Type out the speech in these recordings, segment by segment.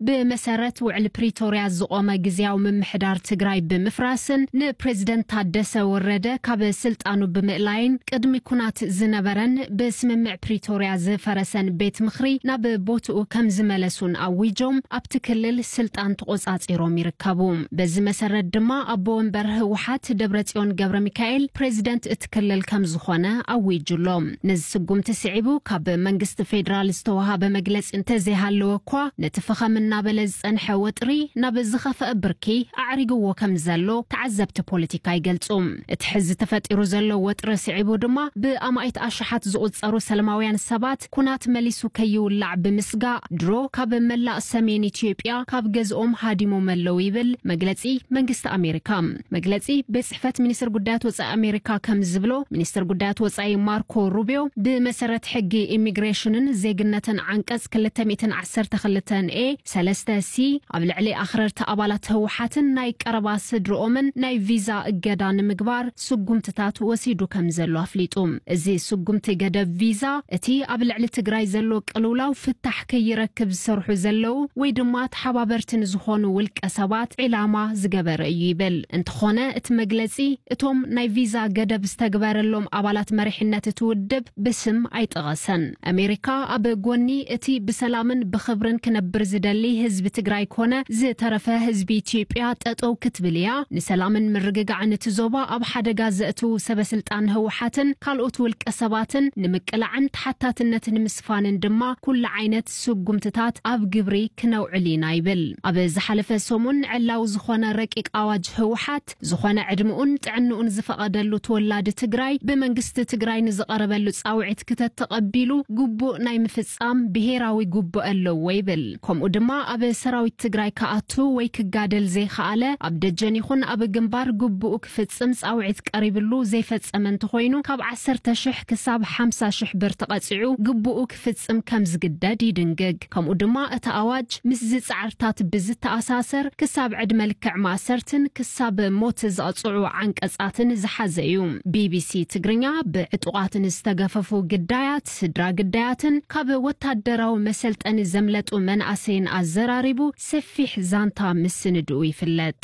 ብመሰረት ውዕል ፕሪቶርያ ዝቖመ ግዝያዊ ምምሕዳር ትግራይ ብምፍራስን ንፕሬዝደንት ታደሰ ወረደ ካብ ስልጣኑ ብምእላይን ቅድሚ ኩናት ዝነበረን ብስምምዕ ፕሪቶርያ ዝፈረሰን ቤት ምኽሪ ናብ ቦትኡ ከም ዝመለሱን ኣዊጆም ኣብቲ ክልል ስልጣን ተቖጻጺሮም ይርከቡ። በዚ መሰረት ድማ ኣቦ ወንበር ህወሓት ደብረጽዮን ገብረ ሚካኤል ፕሬዝደንት እቲ ክልል ከም ዝኾነ ኣዊጁ ኣሎ። ነዚ ስጉምቲ ስዒቡ ካብ መንግስቲ ፌዴራል ዝተወሃበ መግለጺ እንተዘይሃለወ እኳ ነቲ ፈኸም እናበለ ዝጸንሐ ወጥሪ ናብ ዝኸፍአ ብርኪ ኣዕሪግዎ ከም ዘሎ ተዓዘብቲ ፖለቲካ ይገልጹ። እቲ ሕዚ ተፈጢሩ ዘሎ ወጥሪ ስዒቡ ድማ ብኣማኢት ኣሽሓት ዝቑጸሩ ሰላማውያን ሰባት ኩናት መሊሱ ከይውላዕ ብምስጋእ ድሮ ካብ መላእ ሰሜን ኢትዮጵያ ካብ ገዝኦም ሃዲሞም ኣለዉ ይብል መግለጺ መንግስቲ ኣሜሪካ። መግለጺ ቤት ጽሕፈት ሚኒስትር ጉዳያት ወጻኢ ኣሜሪካ ከም ዝብሎ፣ ሚኒስትር ጉዳያት ወጻኢ ማርኮ ሩቢዮ ብመሰረት ሕጊ ኢሚግሬሽንን ዜግነትን ዓንቀጽ ክልተ ሚእትን ዓሰርተ ክልተን ኤ ሰለስተ ሲ ኣብ ልዕሊ ኣኽረርቲ ኣባላት ህወሓትን ናይ ቀረባ ስድርኦምን ናይ ቪዛ እገዳ ንምግባር ስጉምትታት ወሲዱ ከም ዘሎ ኣፍሊጡ። እዚ ስጉምቲ ገደብ ቪዛ እቲ ኣብ ልዕሊ ትግራይ ዘሎ ቅልውላው ፍታሕ ከይረክብ ዝሰርሑ ዘለዉ ወይ ድማ ተሓባበርቲ ንዝኾኑ ውልቀ ሰባት ዒላማ ዝገበረ እዩ ይብል። እንተኾነ እቲ መግለጺ እቶም ናይ ቪዛ ገደብ ዝተግበረሎም ኣባላት መሪሕነት እቲ ውድብ ብስም ኣይጠቐሰን። ኣሜሪካ ኣብ ጎኒ እቲ ብሰላምን ብኽብርን ክነብር ዝደሊ ህዝቢ ትግራይ ኮነ ዝተረፈ ህዝቢ ኢትዮጵያ ጠጠው ክትብል እያ። ንሰላምን ምርግጋዕን እቲ ዞባ ኣብ ሓደጋ ዘእትዉ ሰበስልጣን ህወሓትን ካልኦት ውልቀ ሰባትን ንምቅላዕን ተሓታትነት ንምስፋንን ድማ ኩሉ ዓይነት ስጉምትታት ኣብ ግብሪ ክነውዕል ኢና ይብል። ኣብ ዝሓለፈ ሰሙን ዕላዊ ዝኾነ ረቂቅ ኣዋጅ ህወሓት ዝኾነ ዕድምኡን ጥዕንኡን ዝፈቐደሉ ተወላዲ ትግራይ ብመንግስቲ ትግራይ ንዝቐረበሉ ጻውዒት ክተተቐቢሉ ግቡእ ናይ ምፍጻም ብሄራዊ ግቡእ ኣለዎ ይብል። ከምኡ ድማ ኣብ ሰራዊት ትግራይ ክኣቱ ወይ ክጋደል ዘይኸኣለ ኣብ ደጀን ይኹን ኣብ ግንባር ግቡኡ ክፍጽም ጻውዒት ቀሪብሉ ዘይፈጸመ እንተኾይኑ ካብ ዓሰርተ ሽሕ ክሳብ ሓምሳ ሽሕ ብር ተቐጺዑ ግቡኡ ክፍጽም ከም ዝግደድ ይድንግግ። ከምኡ ድማ እቲ ኣዋጅ ምስዚ ጻዕርታት ብዝተኣሳሰር ክሳብ ዕድመ ልክዕ ማእሰርትን ክሳብ ሞት ዘቕጽዑ ዓንቀጻትን ዝሓዘ እዩ። ቢቢሲ ትግርኛ ብዕጡቓት ንዝተገፈፉ ግዳያት፣ ስድራ ግዳያትን ካብ ወታደራዊ መሰልጠኒ ዘምለጡ መናእሰይን ኣዘራሪቡ ሰፊሕ ዛንታ ምስንድኡ ይፍለጥ።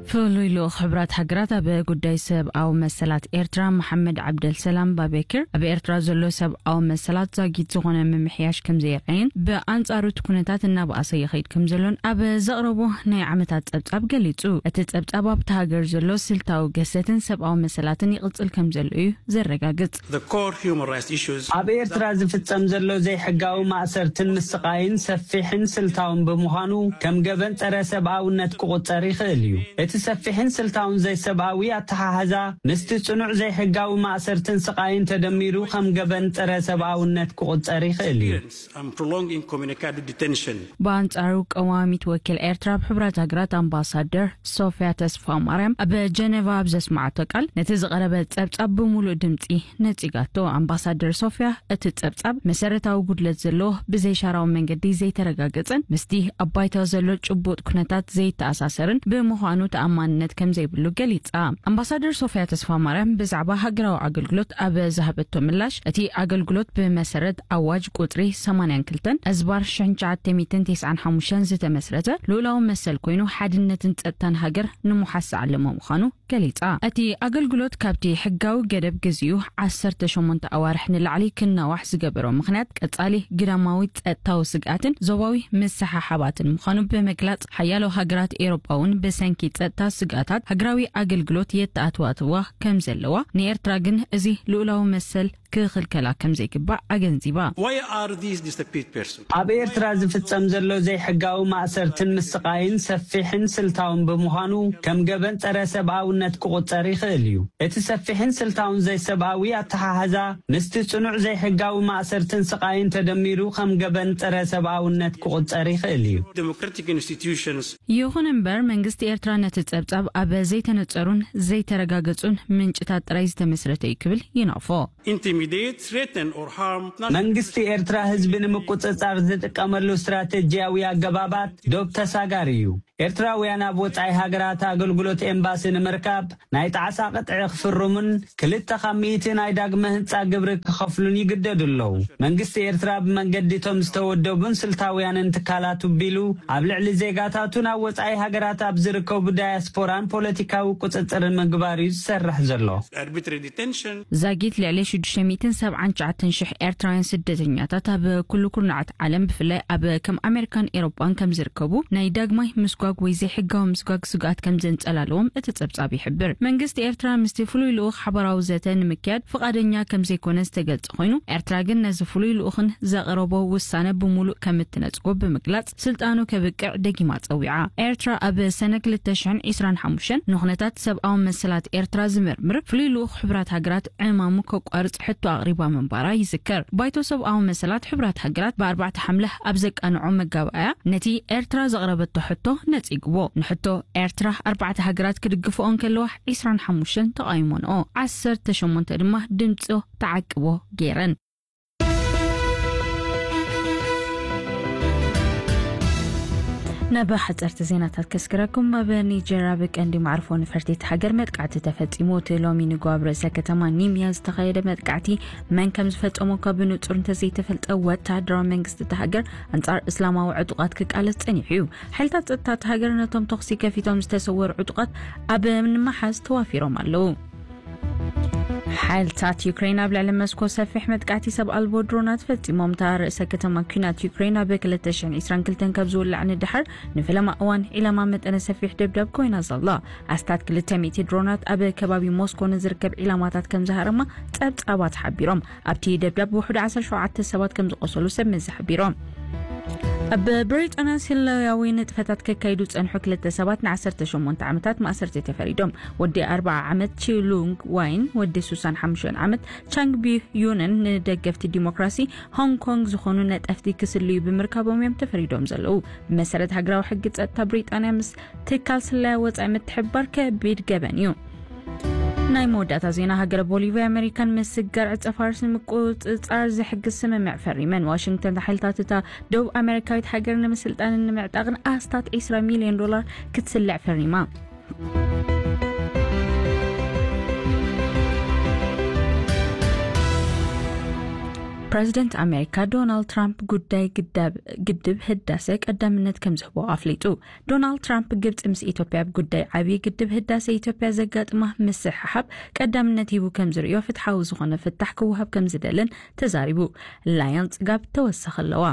ፍሉይ ልኡኽ ሕብራት ሃገራት ኣብ ጉዳይ ሰብኣዊ መሰላት ኤርትራ መሓመድ ዓብደል ሰላም ባቤክር ኣብ ኤርትራ ዘሎ ሰብኣዊ መሰላት ዛጊት ዝኾነ ምምሕያሽ ከም ዘየርኣየን ብኣንጻሩ እቲ ኩነታት እናበኣሰ ይኸይድ ከም ዘሎን ኣብ ዘቕረቦ ናይ ዓመታት ጸብጻብ ገሊጹ። እቲ ጸብጻብ ኣብቲ ሃገር ዘሎ ስልታዊ ገሰትን ሰብኣዊ መሰላትን ይቕጽል ከም ዘሎ እዩ ዘረጋግጽ። The core human rights issues ኣብ ኤርትራ ዝፍጸም ዘሎ ዘይሕጋዊ ማእሰርትን ምስቓይን ሰፊሕን ስልታውን ብምዃኑ ከም ገበን ጸረ ሰብኣውነት ክቑጸር ይኽእል እዩ። እቲ ሰፊሕን ስልታውን ዘይሰብኣዊ ኣተሓሕዛ ምስቲ ጽኑዕ ዘይሕጋዊ ማእሰርትን ስቓይን ተደሚሩ ከም ገበን ጸረ ሰብኣውነት ክቑጸር ይኽእል እዩ። And prolonging communicado detention ብኣንጻሩ ቀዋሚት ወኪል ኤርትራ ኣብ ሕብራት ሃገራት ኣምባሳደር ሶፊያ ተስፋ ማርያም ኣብ ጀነቫ ኣብ ዘስማዓቶ ቃል ነቲ ዝቐረበ ጸብጻብ ብምሉእ ድምጺ ነጺጋቶ። ኣምባሳደር ሶፊያ እቲ ጸብጻብ መሰረታዊ ጉድለት ዘለዎ ብዘይሻራዊ መንገዲ ዘይተረጋገጸን ምስቲ ኣብ ባይታ ዘሎ ጭቡጥ ኩነታት ዘይተኣሳሰርን ብምዃኑ ተኣማንነት ከም ዘይብሉ ገሊጻ። ኣምባሳደር ሶፊያ ተስፋ ማርያም ብዛዕባ ሃገራዊ ኣገልግሎት ኣብ ዝሃበቶ ምላሽ እቲ ኣገልግሎት ብመሰረት ኣዋጅ ቁጽሪ ሰማንያን ክልተን ኣዝባር ሽሕን ትሽዓተ ሚእትን ተስዓን ሓሙሽተን ዝተመስረተ ልኡላዊ መሰል ኮይኑ ሓድነትን ጸጥታን ሃገር ንምሓዝ ዝዓለመ ምዃኑ ገሊጻ። እቲ ኣገልግሎት ካብቲ ሕጋዊ ገደብ ግዜኡ ዓሰርተ ሸሞንተ ኣዋርሕ ንላዕሊ ክናዋሕ ዝገበሮ ምኽንያት ቀጻሊ ግዳማዊ ጸጥታዊ ስግኣትን ዞባዊ ምስሓሓባትን ምዃኑ ብምግላጽ ሓያሎ ሃገራት ኤውሮጳ እውን ብሰንኪ ጸጥታ ስግኣታት ሃገራዊ ኣገልግሎት የተኣትዋትዋ ከም ዘለዋ ንኤርትራ ግን እዚ ልኡላዊ መሰል ክኽልከላ ከም ዘይግባእ ኣገንዚባ። Why are these disappeared persons? ኣብ ኤርትራ ዝፍጸም ዘሎ ዘይሕጋዊ ማእሰርትን ምስቓይን ሰፊሕን ስልታውን ብምዃኑ ከም ገበን ጸረ ሰብኣውነት ክቑጸር ይኽእል እዩ። እቲ ሰፊሕን ስልታውን ዘይሰብኣዊ ኣተሓሕዛ ምስቲ ጽኑዕ ዘይሕጋዊ ማእሰርትን ስቓይን ተደሚሩ ከም ገበን ጸረ ሰብኣውነት ክቑጸር ይኽእል እዩ። Democratic institutions ይኹን እምበር መንግስቲ ኤርትራ ነቲ ጸብጻብ ኣብ ዘይተነጸሩን ዘይተረጋገጹን ምንጭታት ጥራይ ዝተመስረተ እዩ ክብል ይነቕፎ። Intimidate, threaten or harm መንግስቲ ኤርትራ ህዝቢ ንምቁጽጻር ዝጥቀመሉ ስትራተጂያዊ ኣገባባት ዶብ ተሳጋሪ እዩ። ኤርትራውያን ኣብ ወጻኢ ሃገራት ኣገልግሎት ኤምባሲ ንምርካብ ናይ ጣዕሳ ቅጥዒ ክፍርሙን ክልተ ካብ ሚእቲ ናይ ዳግመ ህንጻ ግብሪ ክኸፍሉን ይግደዱ ኣለዉ። መንግስቲ ኤርትራ ብመንገዲ እቶም ዝተወደቡን ስልታውያንን ትካላት ቢሉ ኣብ ልዕሊ ዜጋታቱ ናብ ወጻኢ ሃገራት ኣብ ዝርከቡ ዳያስፖራን ፖለቲካዊ ቁጽጽርን ምግባር እዩ ዝሰርሕ ዘሎ። Arbitrary detention። ዛጊት ልዕሊ ሽዱሽተ ሚእትን ሰብዓን ትሽዓተን ሽሕ ኤርትራውያን ስደተኛታት ኣብ ኩሉ ኩርናዓት ዓለም፣ ብፍላይ ኣብ ከም ኣሜሪካን ኤሮጳን ከም ዝርከቡ፣ ናይ ዳግማይ ምስጓግ ወይ ዘይሕጋዊ ምስጓግ ስግኣት ከም ዘንጸላለዎም እቲ ጸብጻብ ይሕብር። መንግስቲ ኤርትራ ምስቲ ፍሉይ ልኡኽ ሓባራዊ ዘተ ንምክያድ ፍቓደኛ ከም ዘይኮነ ዝተገልጸ ኮይኑ፣ ኤርትራ ግን ነዚ ፍሉይ ልኡኽን ዘቕረቦ ውሳነ ብምሉእ ከም እትነጽጎ ብምግላጽ፣ ስልጣኑ ከብቅዕ ደጊማ ጸዊዓ። ኤርትራ ኣብ ሰነ ክልተ ሽሕን ዕስራን ሓሙሽተን ንኹነታት ሰብኣዊ መሰላት ኤርትራ ዝምርምር ፍሉይ ልኡኽ ሕቡራት ሃገራት ዕማሙ ከቋርጽ ሕቶ ኣቕሪባ ምንባራ ይዝከር። ባይቶ ሰብኣዊ መሰላት ሕቡራት ሃገራት ብኣርባዕተ ሓምለ ኣብ ዘቃንዖ መጋባእያ ነቲ ኤርትራ ዘቕረበቶ ሕቶ ነጺግዎ። ንሕቶ ኤርትራ ኣርባዕተ ሃገራት ክድግፍኦ እንከለዋ፣ ዕስራን ሓሙሽተን ተቓይሞንኦ፣ ዓሰርተ ሸሞንተ ድማ ድምጾ ተዓቅቦ ገይረን። ናብ ሓጸርቲ ዜናታት ከስግረኩም። ኣብ ኒጀር ኣብ ቀንዲ መዕርፎ ነፈርቲ እቲ ሃገር መጥቃዕቲ ተፈጺሙ። እቲ ሎሚ ንግሆ ኣብ ርእሰ ከተማ ኒምያ ዝተኻየደ መጥቃዕቲ መን ከም ዝፈጸሞ እኳ ብንጹር እንተዘይተፈልጠ፣ ወተሃደራዊ መንግስቲ እቲ ሃገር ኣንጻር እስላማዊ ዕጡቓት ክቃለስ ጸኒሑ እዩ። ሓይልታት ጸጥታ እቲ ሃገር ነቶም ተኹሲ ከፊቶም ዝተሰወሩ ዕጡቓት ኣብ ንምሓዝ ተዋፊሮም ኣለዉ። ሓይልታት ዩክሬን ኣብ ልዕሊ መስኮ ሰፊሕ መጥቃዕቲ ሰብ ኣልቦ ድሮናት ፈጺሞም። እታ ርእሰ ከተማ ኲናት ዩክሬን ኣብ ክልተ ሽሕን ዕስራን ክልተን ካብ ዝውላዕ ንድሓር ንፈለማ እዋን ዒላማ መጠነ ሰፊሕ ደብዳብ ኮይና ዘላ። ኣስታት ክልተ ሚእቲ ድሮናት ኣብ ከባቢ ሞስኮ ንዝርከብ ዒላማታት ከም ዝሃረማ ጸብጻባት ሓቢሮም። ኣብቲ ደብዳብ ብውሕዱ ዓሰርተ ሸውዓተ ሰባት ከም ዝቆሰሉ ሰብ መዚ ሓቢሮም። ኣብ ብሪጣንያ ስለያዊ ንጥፈታት ከካይዱ ጸንሑ ክልተ ሰባት ንዓሰርተ ሸሞንተ ዓመታት ማእሰርቲ ተፈሪዶም። ወዲ ኣርብዓ ዓመት ቺሉንግ ዋይን፣ ወዲ ሱሳን ሓሙሽተ ዓመት ቻንግ ቢዩንን ንደገፍቲ ዲሞክራሲ ሆንግ ኮንግ ዝኾኑ ነጠፍቲ ክስልዩ ብምርካቦም እዮም ተፈሪዶም ዘለዉ። ብመሰረት ሃገራዊ ሕጊ ጸጥታ ብሪጣንያ ምስ ትካል ስለያ ወጻኢ ምትሕብባር ከቢድ ገበን እዩ። ናይ መወዳእታ ዜና። ሃገረ ቦሊቪያ ኣሜሪካን ምስጋር ዕጸ ፋርስ ንምቁጽጻር ዝሕግዝ ስምምዕ ፈሪመን። ዋሽንግተን ሓይልታት እታ ደቡብ ኣሜሪካዊት ሃገር ንምስልጣንን ንምዕጣቕን ኣስታት ዕስራ ሚልዮን ዶላር ክትስልዕ ፈሪማ። ፕረዚደንት ኣሜሪካ ዶናልድ ትራምፕ ጉዳይ ግዳብ-፣ ግድብ ህዳሰ ቀዳምነት ከም ዝህቦ ኣፍሊጡ። ዶናልድ ትራምፕ ግብጺ ምስ ኢትዮጵያ ኣብ ጉዳይ ዓብዪ ግድብ ህዳሰ ኢትዮጵያ ዘጋጥማ ምስሕሓብ ቀዳምነት ሂቡ ከም ዝርእዮ፣ ፍትሓዊ ዝኾነ ፍታሕ ክወሃብ ከም ዝደልን ተዛሪቡ። ላያን ጽጋብ ተወሳኺ ኣለዋ።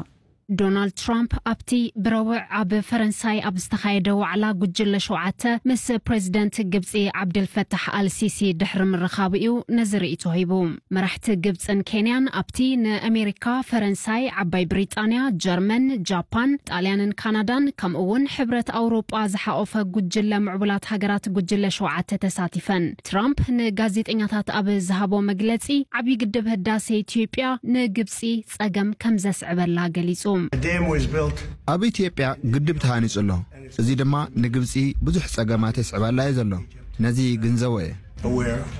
ዶናልድ ትራምፕ ኣብቲ ብረቡዕ ኣብ ፈረንሳይ ኣብ ዝተኻየደ ዋዕላ ጉጅለ ሸውዓተ ምስ ፕሬዚደንት ግብጺ ዓብደልፈታሕ ኣልሲሲ ድሕሪ ምርኻቡ እዩ ነዚ ርእይቶ ሂቡ። መራሕቲ ግብጽን ኬንያን ኣብቲ ንኣሜሪካ፣ ፈረንሳይ፣ ዓባይ ብሪጣንያ፣ ጀርመን፣ ጃፓን፣ ጣልያንን ካናዳን ከምኡ እውን ሕብረት ኣውሮጳ ዝሓቆፈ ጉጅለ ምዕቡላት ሃገራት ጉጅለ ሸውዓተ ተሳቲፈን። ትራምፕ ንጋዜጠኛታት ኣብ ዝሃቦ መግለጺ፣ ዓብዪ ግድብ ህዳሴ ኢትዮጵያ ንግብጺ ጸገም ከም ዘስዕበላ ገሊጹ። The dam was built ኣብ ኢትዮጵያ ግድብ ተሃኒጹ ኣሎ። እዚ ድማ ንግብጺ ብዙሕ ጸገማት የስዕባላ እዩ ዘሎ። ነዚ ግንዘቦ እየ።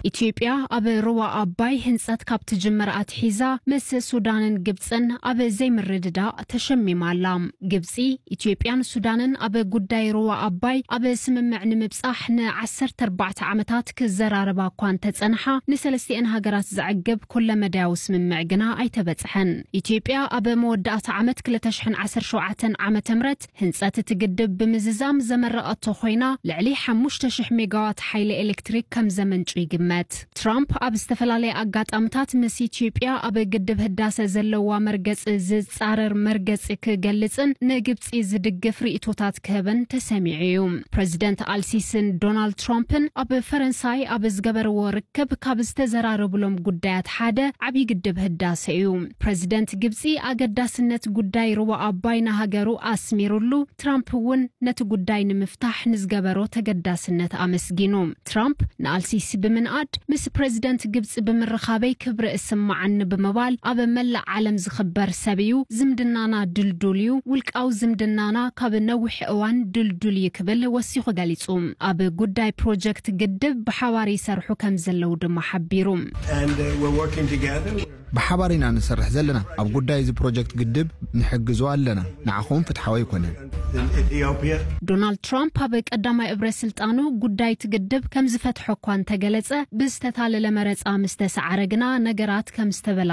ኢትዮጵያ ኣብ ሩባ ኣባይ ህንጸት ካብ ትጅምር ኣትሒዛ ምስ ሱዳንን ግብጽን ኣብ ዘይምርድዳእ ተሸሚማ ኣላ። ግብጺ፣ ኢትዮጵያን ሱዳንን ኣብ ጉዳይ ሩባ ኣባይ ኣብ ስምምዕ ንምብጻሕ ንዓሰርተ ኣርባዕተ ዓመታት ክዘራረባ እኳ እንተጸንሓ፣ ንሰለስቲአን ሃገራት ዘዕግብ ኩለመዳያዊ ስምምዕ ግና ኣይተበጽሐን። ኢትዮጵያ ኣብ መወዳእታ ዓመት ክልተ ሽሕን ዓሰርተ ሸውዓተን ዓመተ ምህረት ህንጸት እቲ ግድብ ብምዝዛም ዘመረቐቶ ኮይና፣ ልዕሊ ሓሙሽተ ሽሕ ሜጋዋት ሓይሊ ኤሌክትሪክ ከም ዘመንጩ ይግመት። ትራምፕ ኣብ ዝተፈላለየ ኣጋጣምታት ምስ ኢትዮጵያ ኣብ ግድብ ህዳሰ ዘለዋ መርገጺ ዝጻረር መርገጺ ክገልጽን ንግብጺ ዝድግፍ ርእይቶታት ክህብን ተሰሚዑ እዩ። ፕረዚደንት ኣልሲስን ዶናልድ ትራምፕን ኣብ ፈረንሳይ ኣብ ዝገበርዎ ርክብ ካብ ዝተዘራረቡሎም ጉዳያት ሓደ ዓብዪ ግድብ ህዳሰ እዩ። ፕረዚደንት ግብጺ ኣገዳስነት ጉዳይ ሩባ ኣባይ ንሃገሩ ኣስሚሩሉ፣ ትራምፕ እውን ነቲ ጉዳይ ንምፍታሕ ንዝገበሮ ተገዳስነት ኣመስጊኑ። ትራምፕ ንኣልሲሲ ብምንኣድ፣ ምስ ፕረዚደንት ግብጺ ብምርኻበይ ክብሪ እስምዓኒ ብምባል፣ ኣብ መላእ ዓለም ዝኽበር ሰብ እዩ። ዝምድናና ድልዱል እዩ። ውልቃዊ ዝምድናና ካብ ነዊሕ እዋን ድልዱል እዩ ክብል ወሲኹ ገሊጹ። ኣብ ጉዳይ ፕሮጀክት ግድብ ብሓባር ይሰርሑ ከም ዘለዉ ድማ ሓቢሩ። And uh, we're working together. ብሓባር ኢና ንሰርሕ ዘለና። ኣብ ጉዳይ እዚ ፕሮጀክት ግድብ ንሕግዞ ኣለና። ንዓኹም ፍትሓዊ ኣይኮነን። In Ethiopia. ዶናልድ ትራምፕ ኣብ ቀዳማይ እብረ ስልጣኑ ጉዳይ እቲ ግድብ ከም ዝፈትሖ እኳ እንተገለጸ፣ ብዝተታለለ መረጻ ምስ ተሰዓረ ግና ነገራት ከም ዝተበላ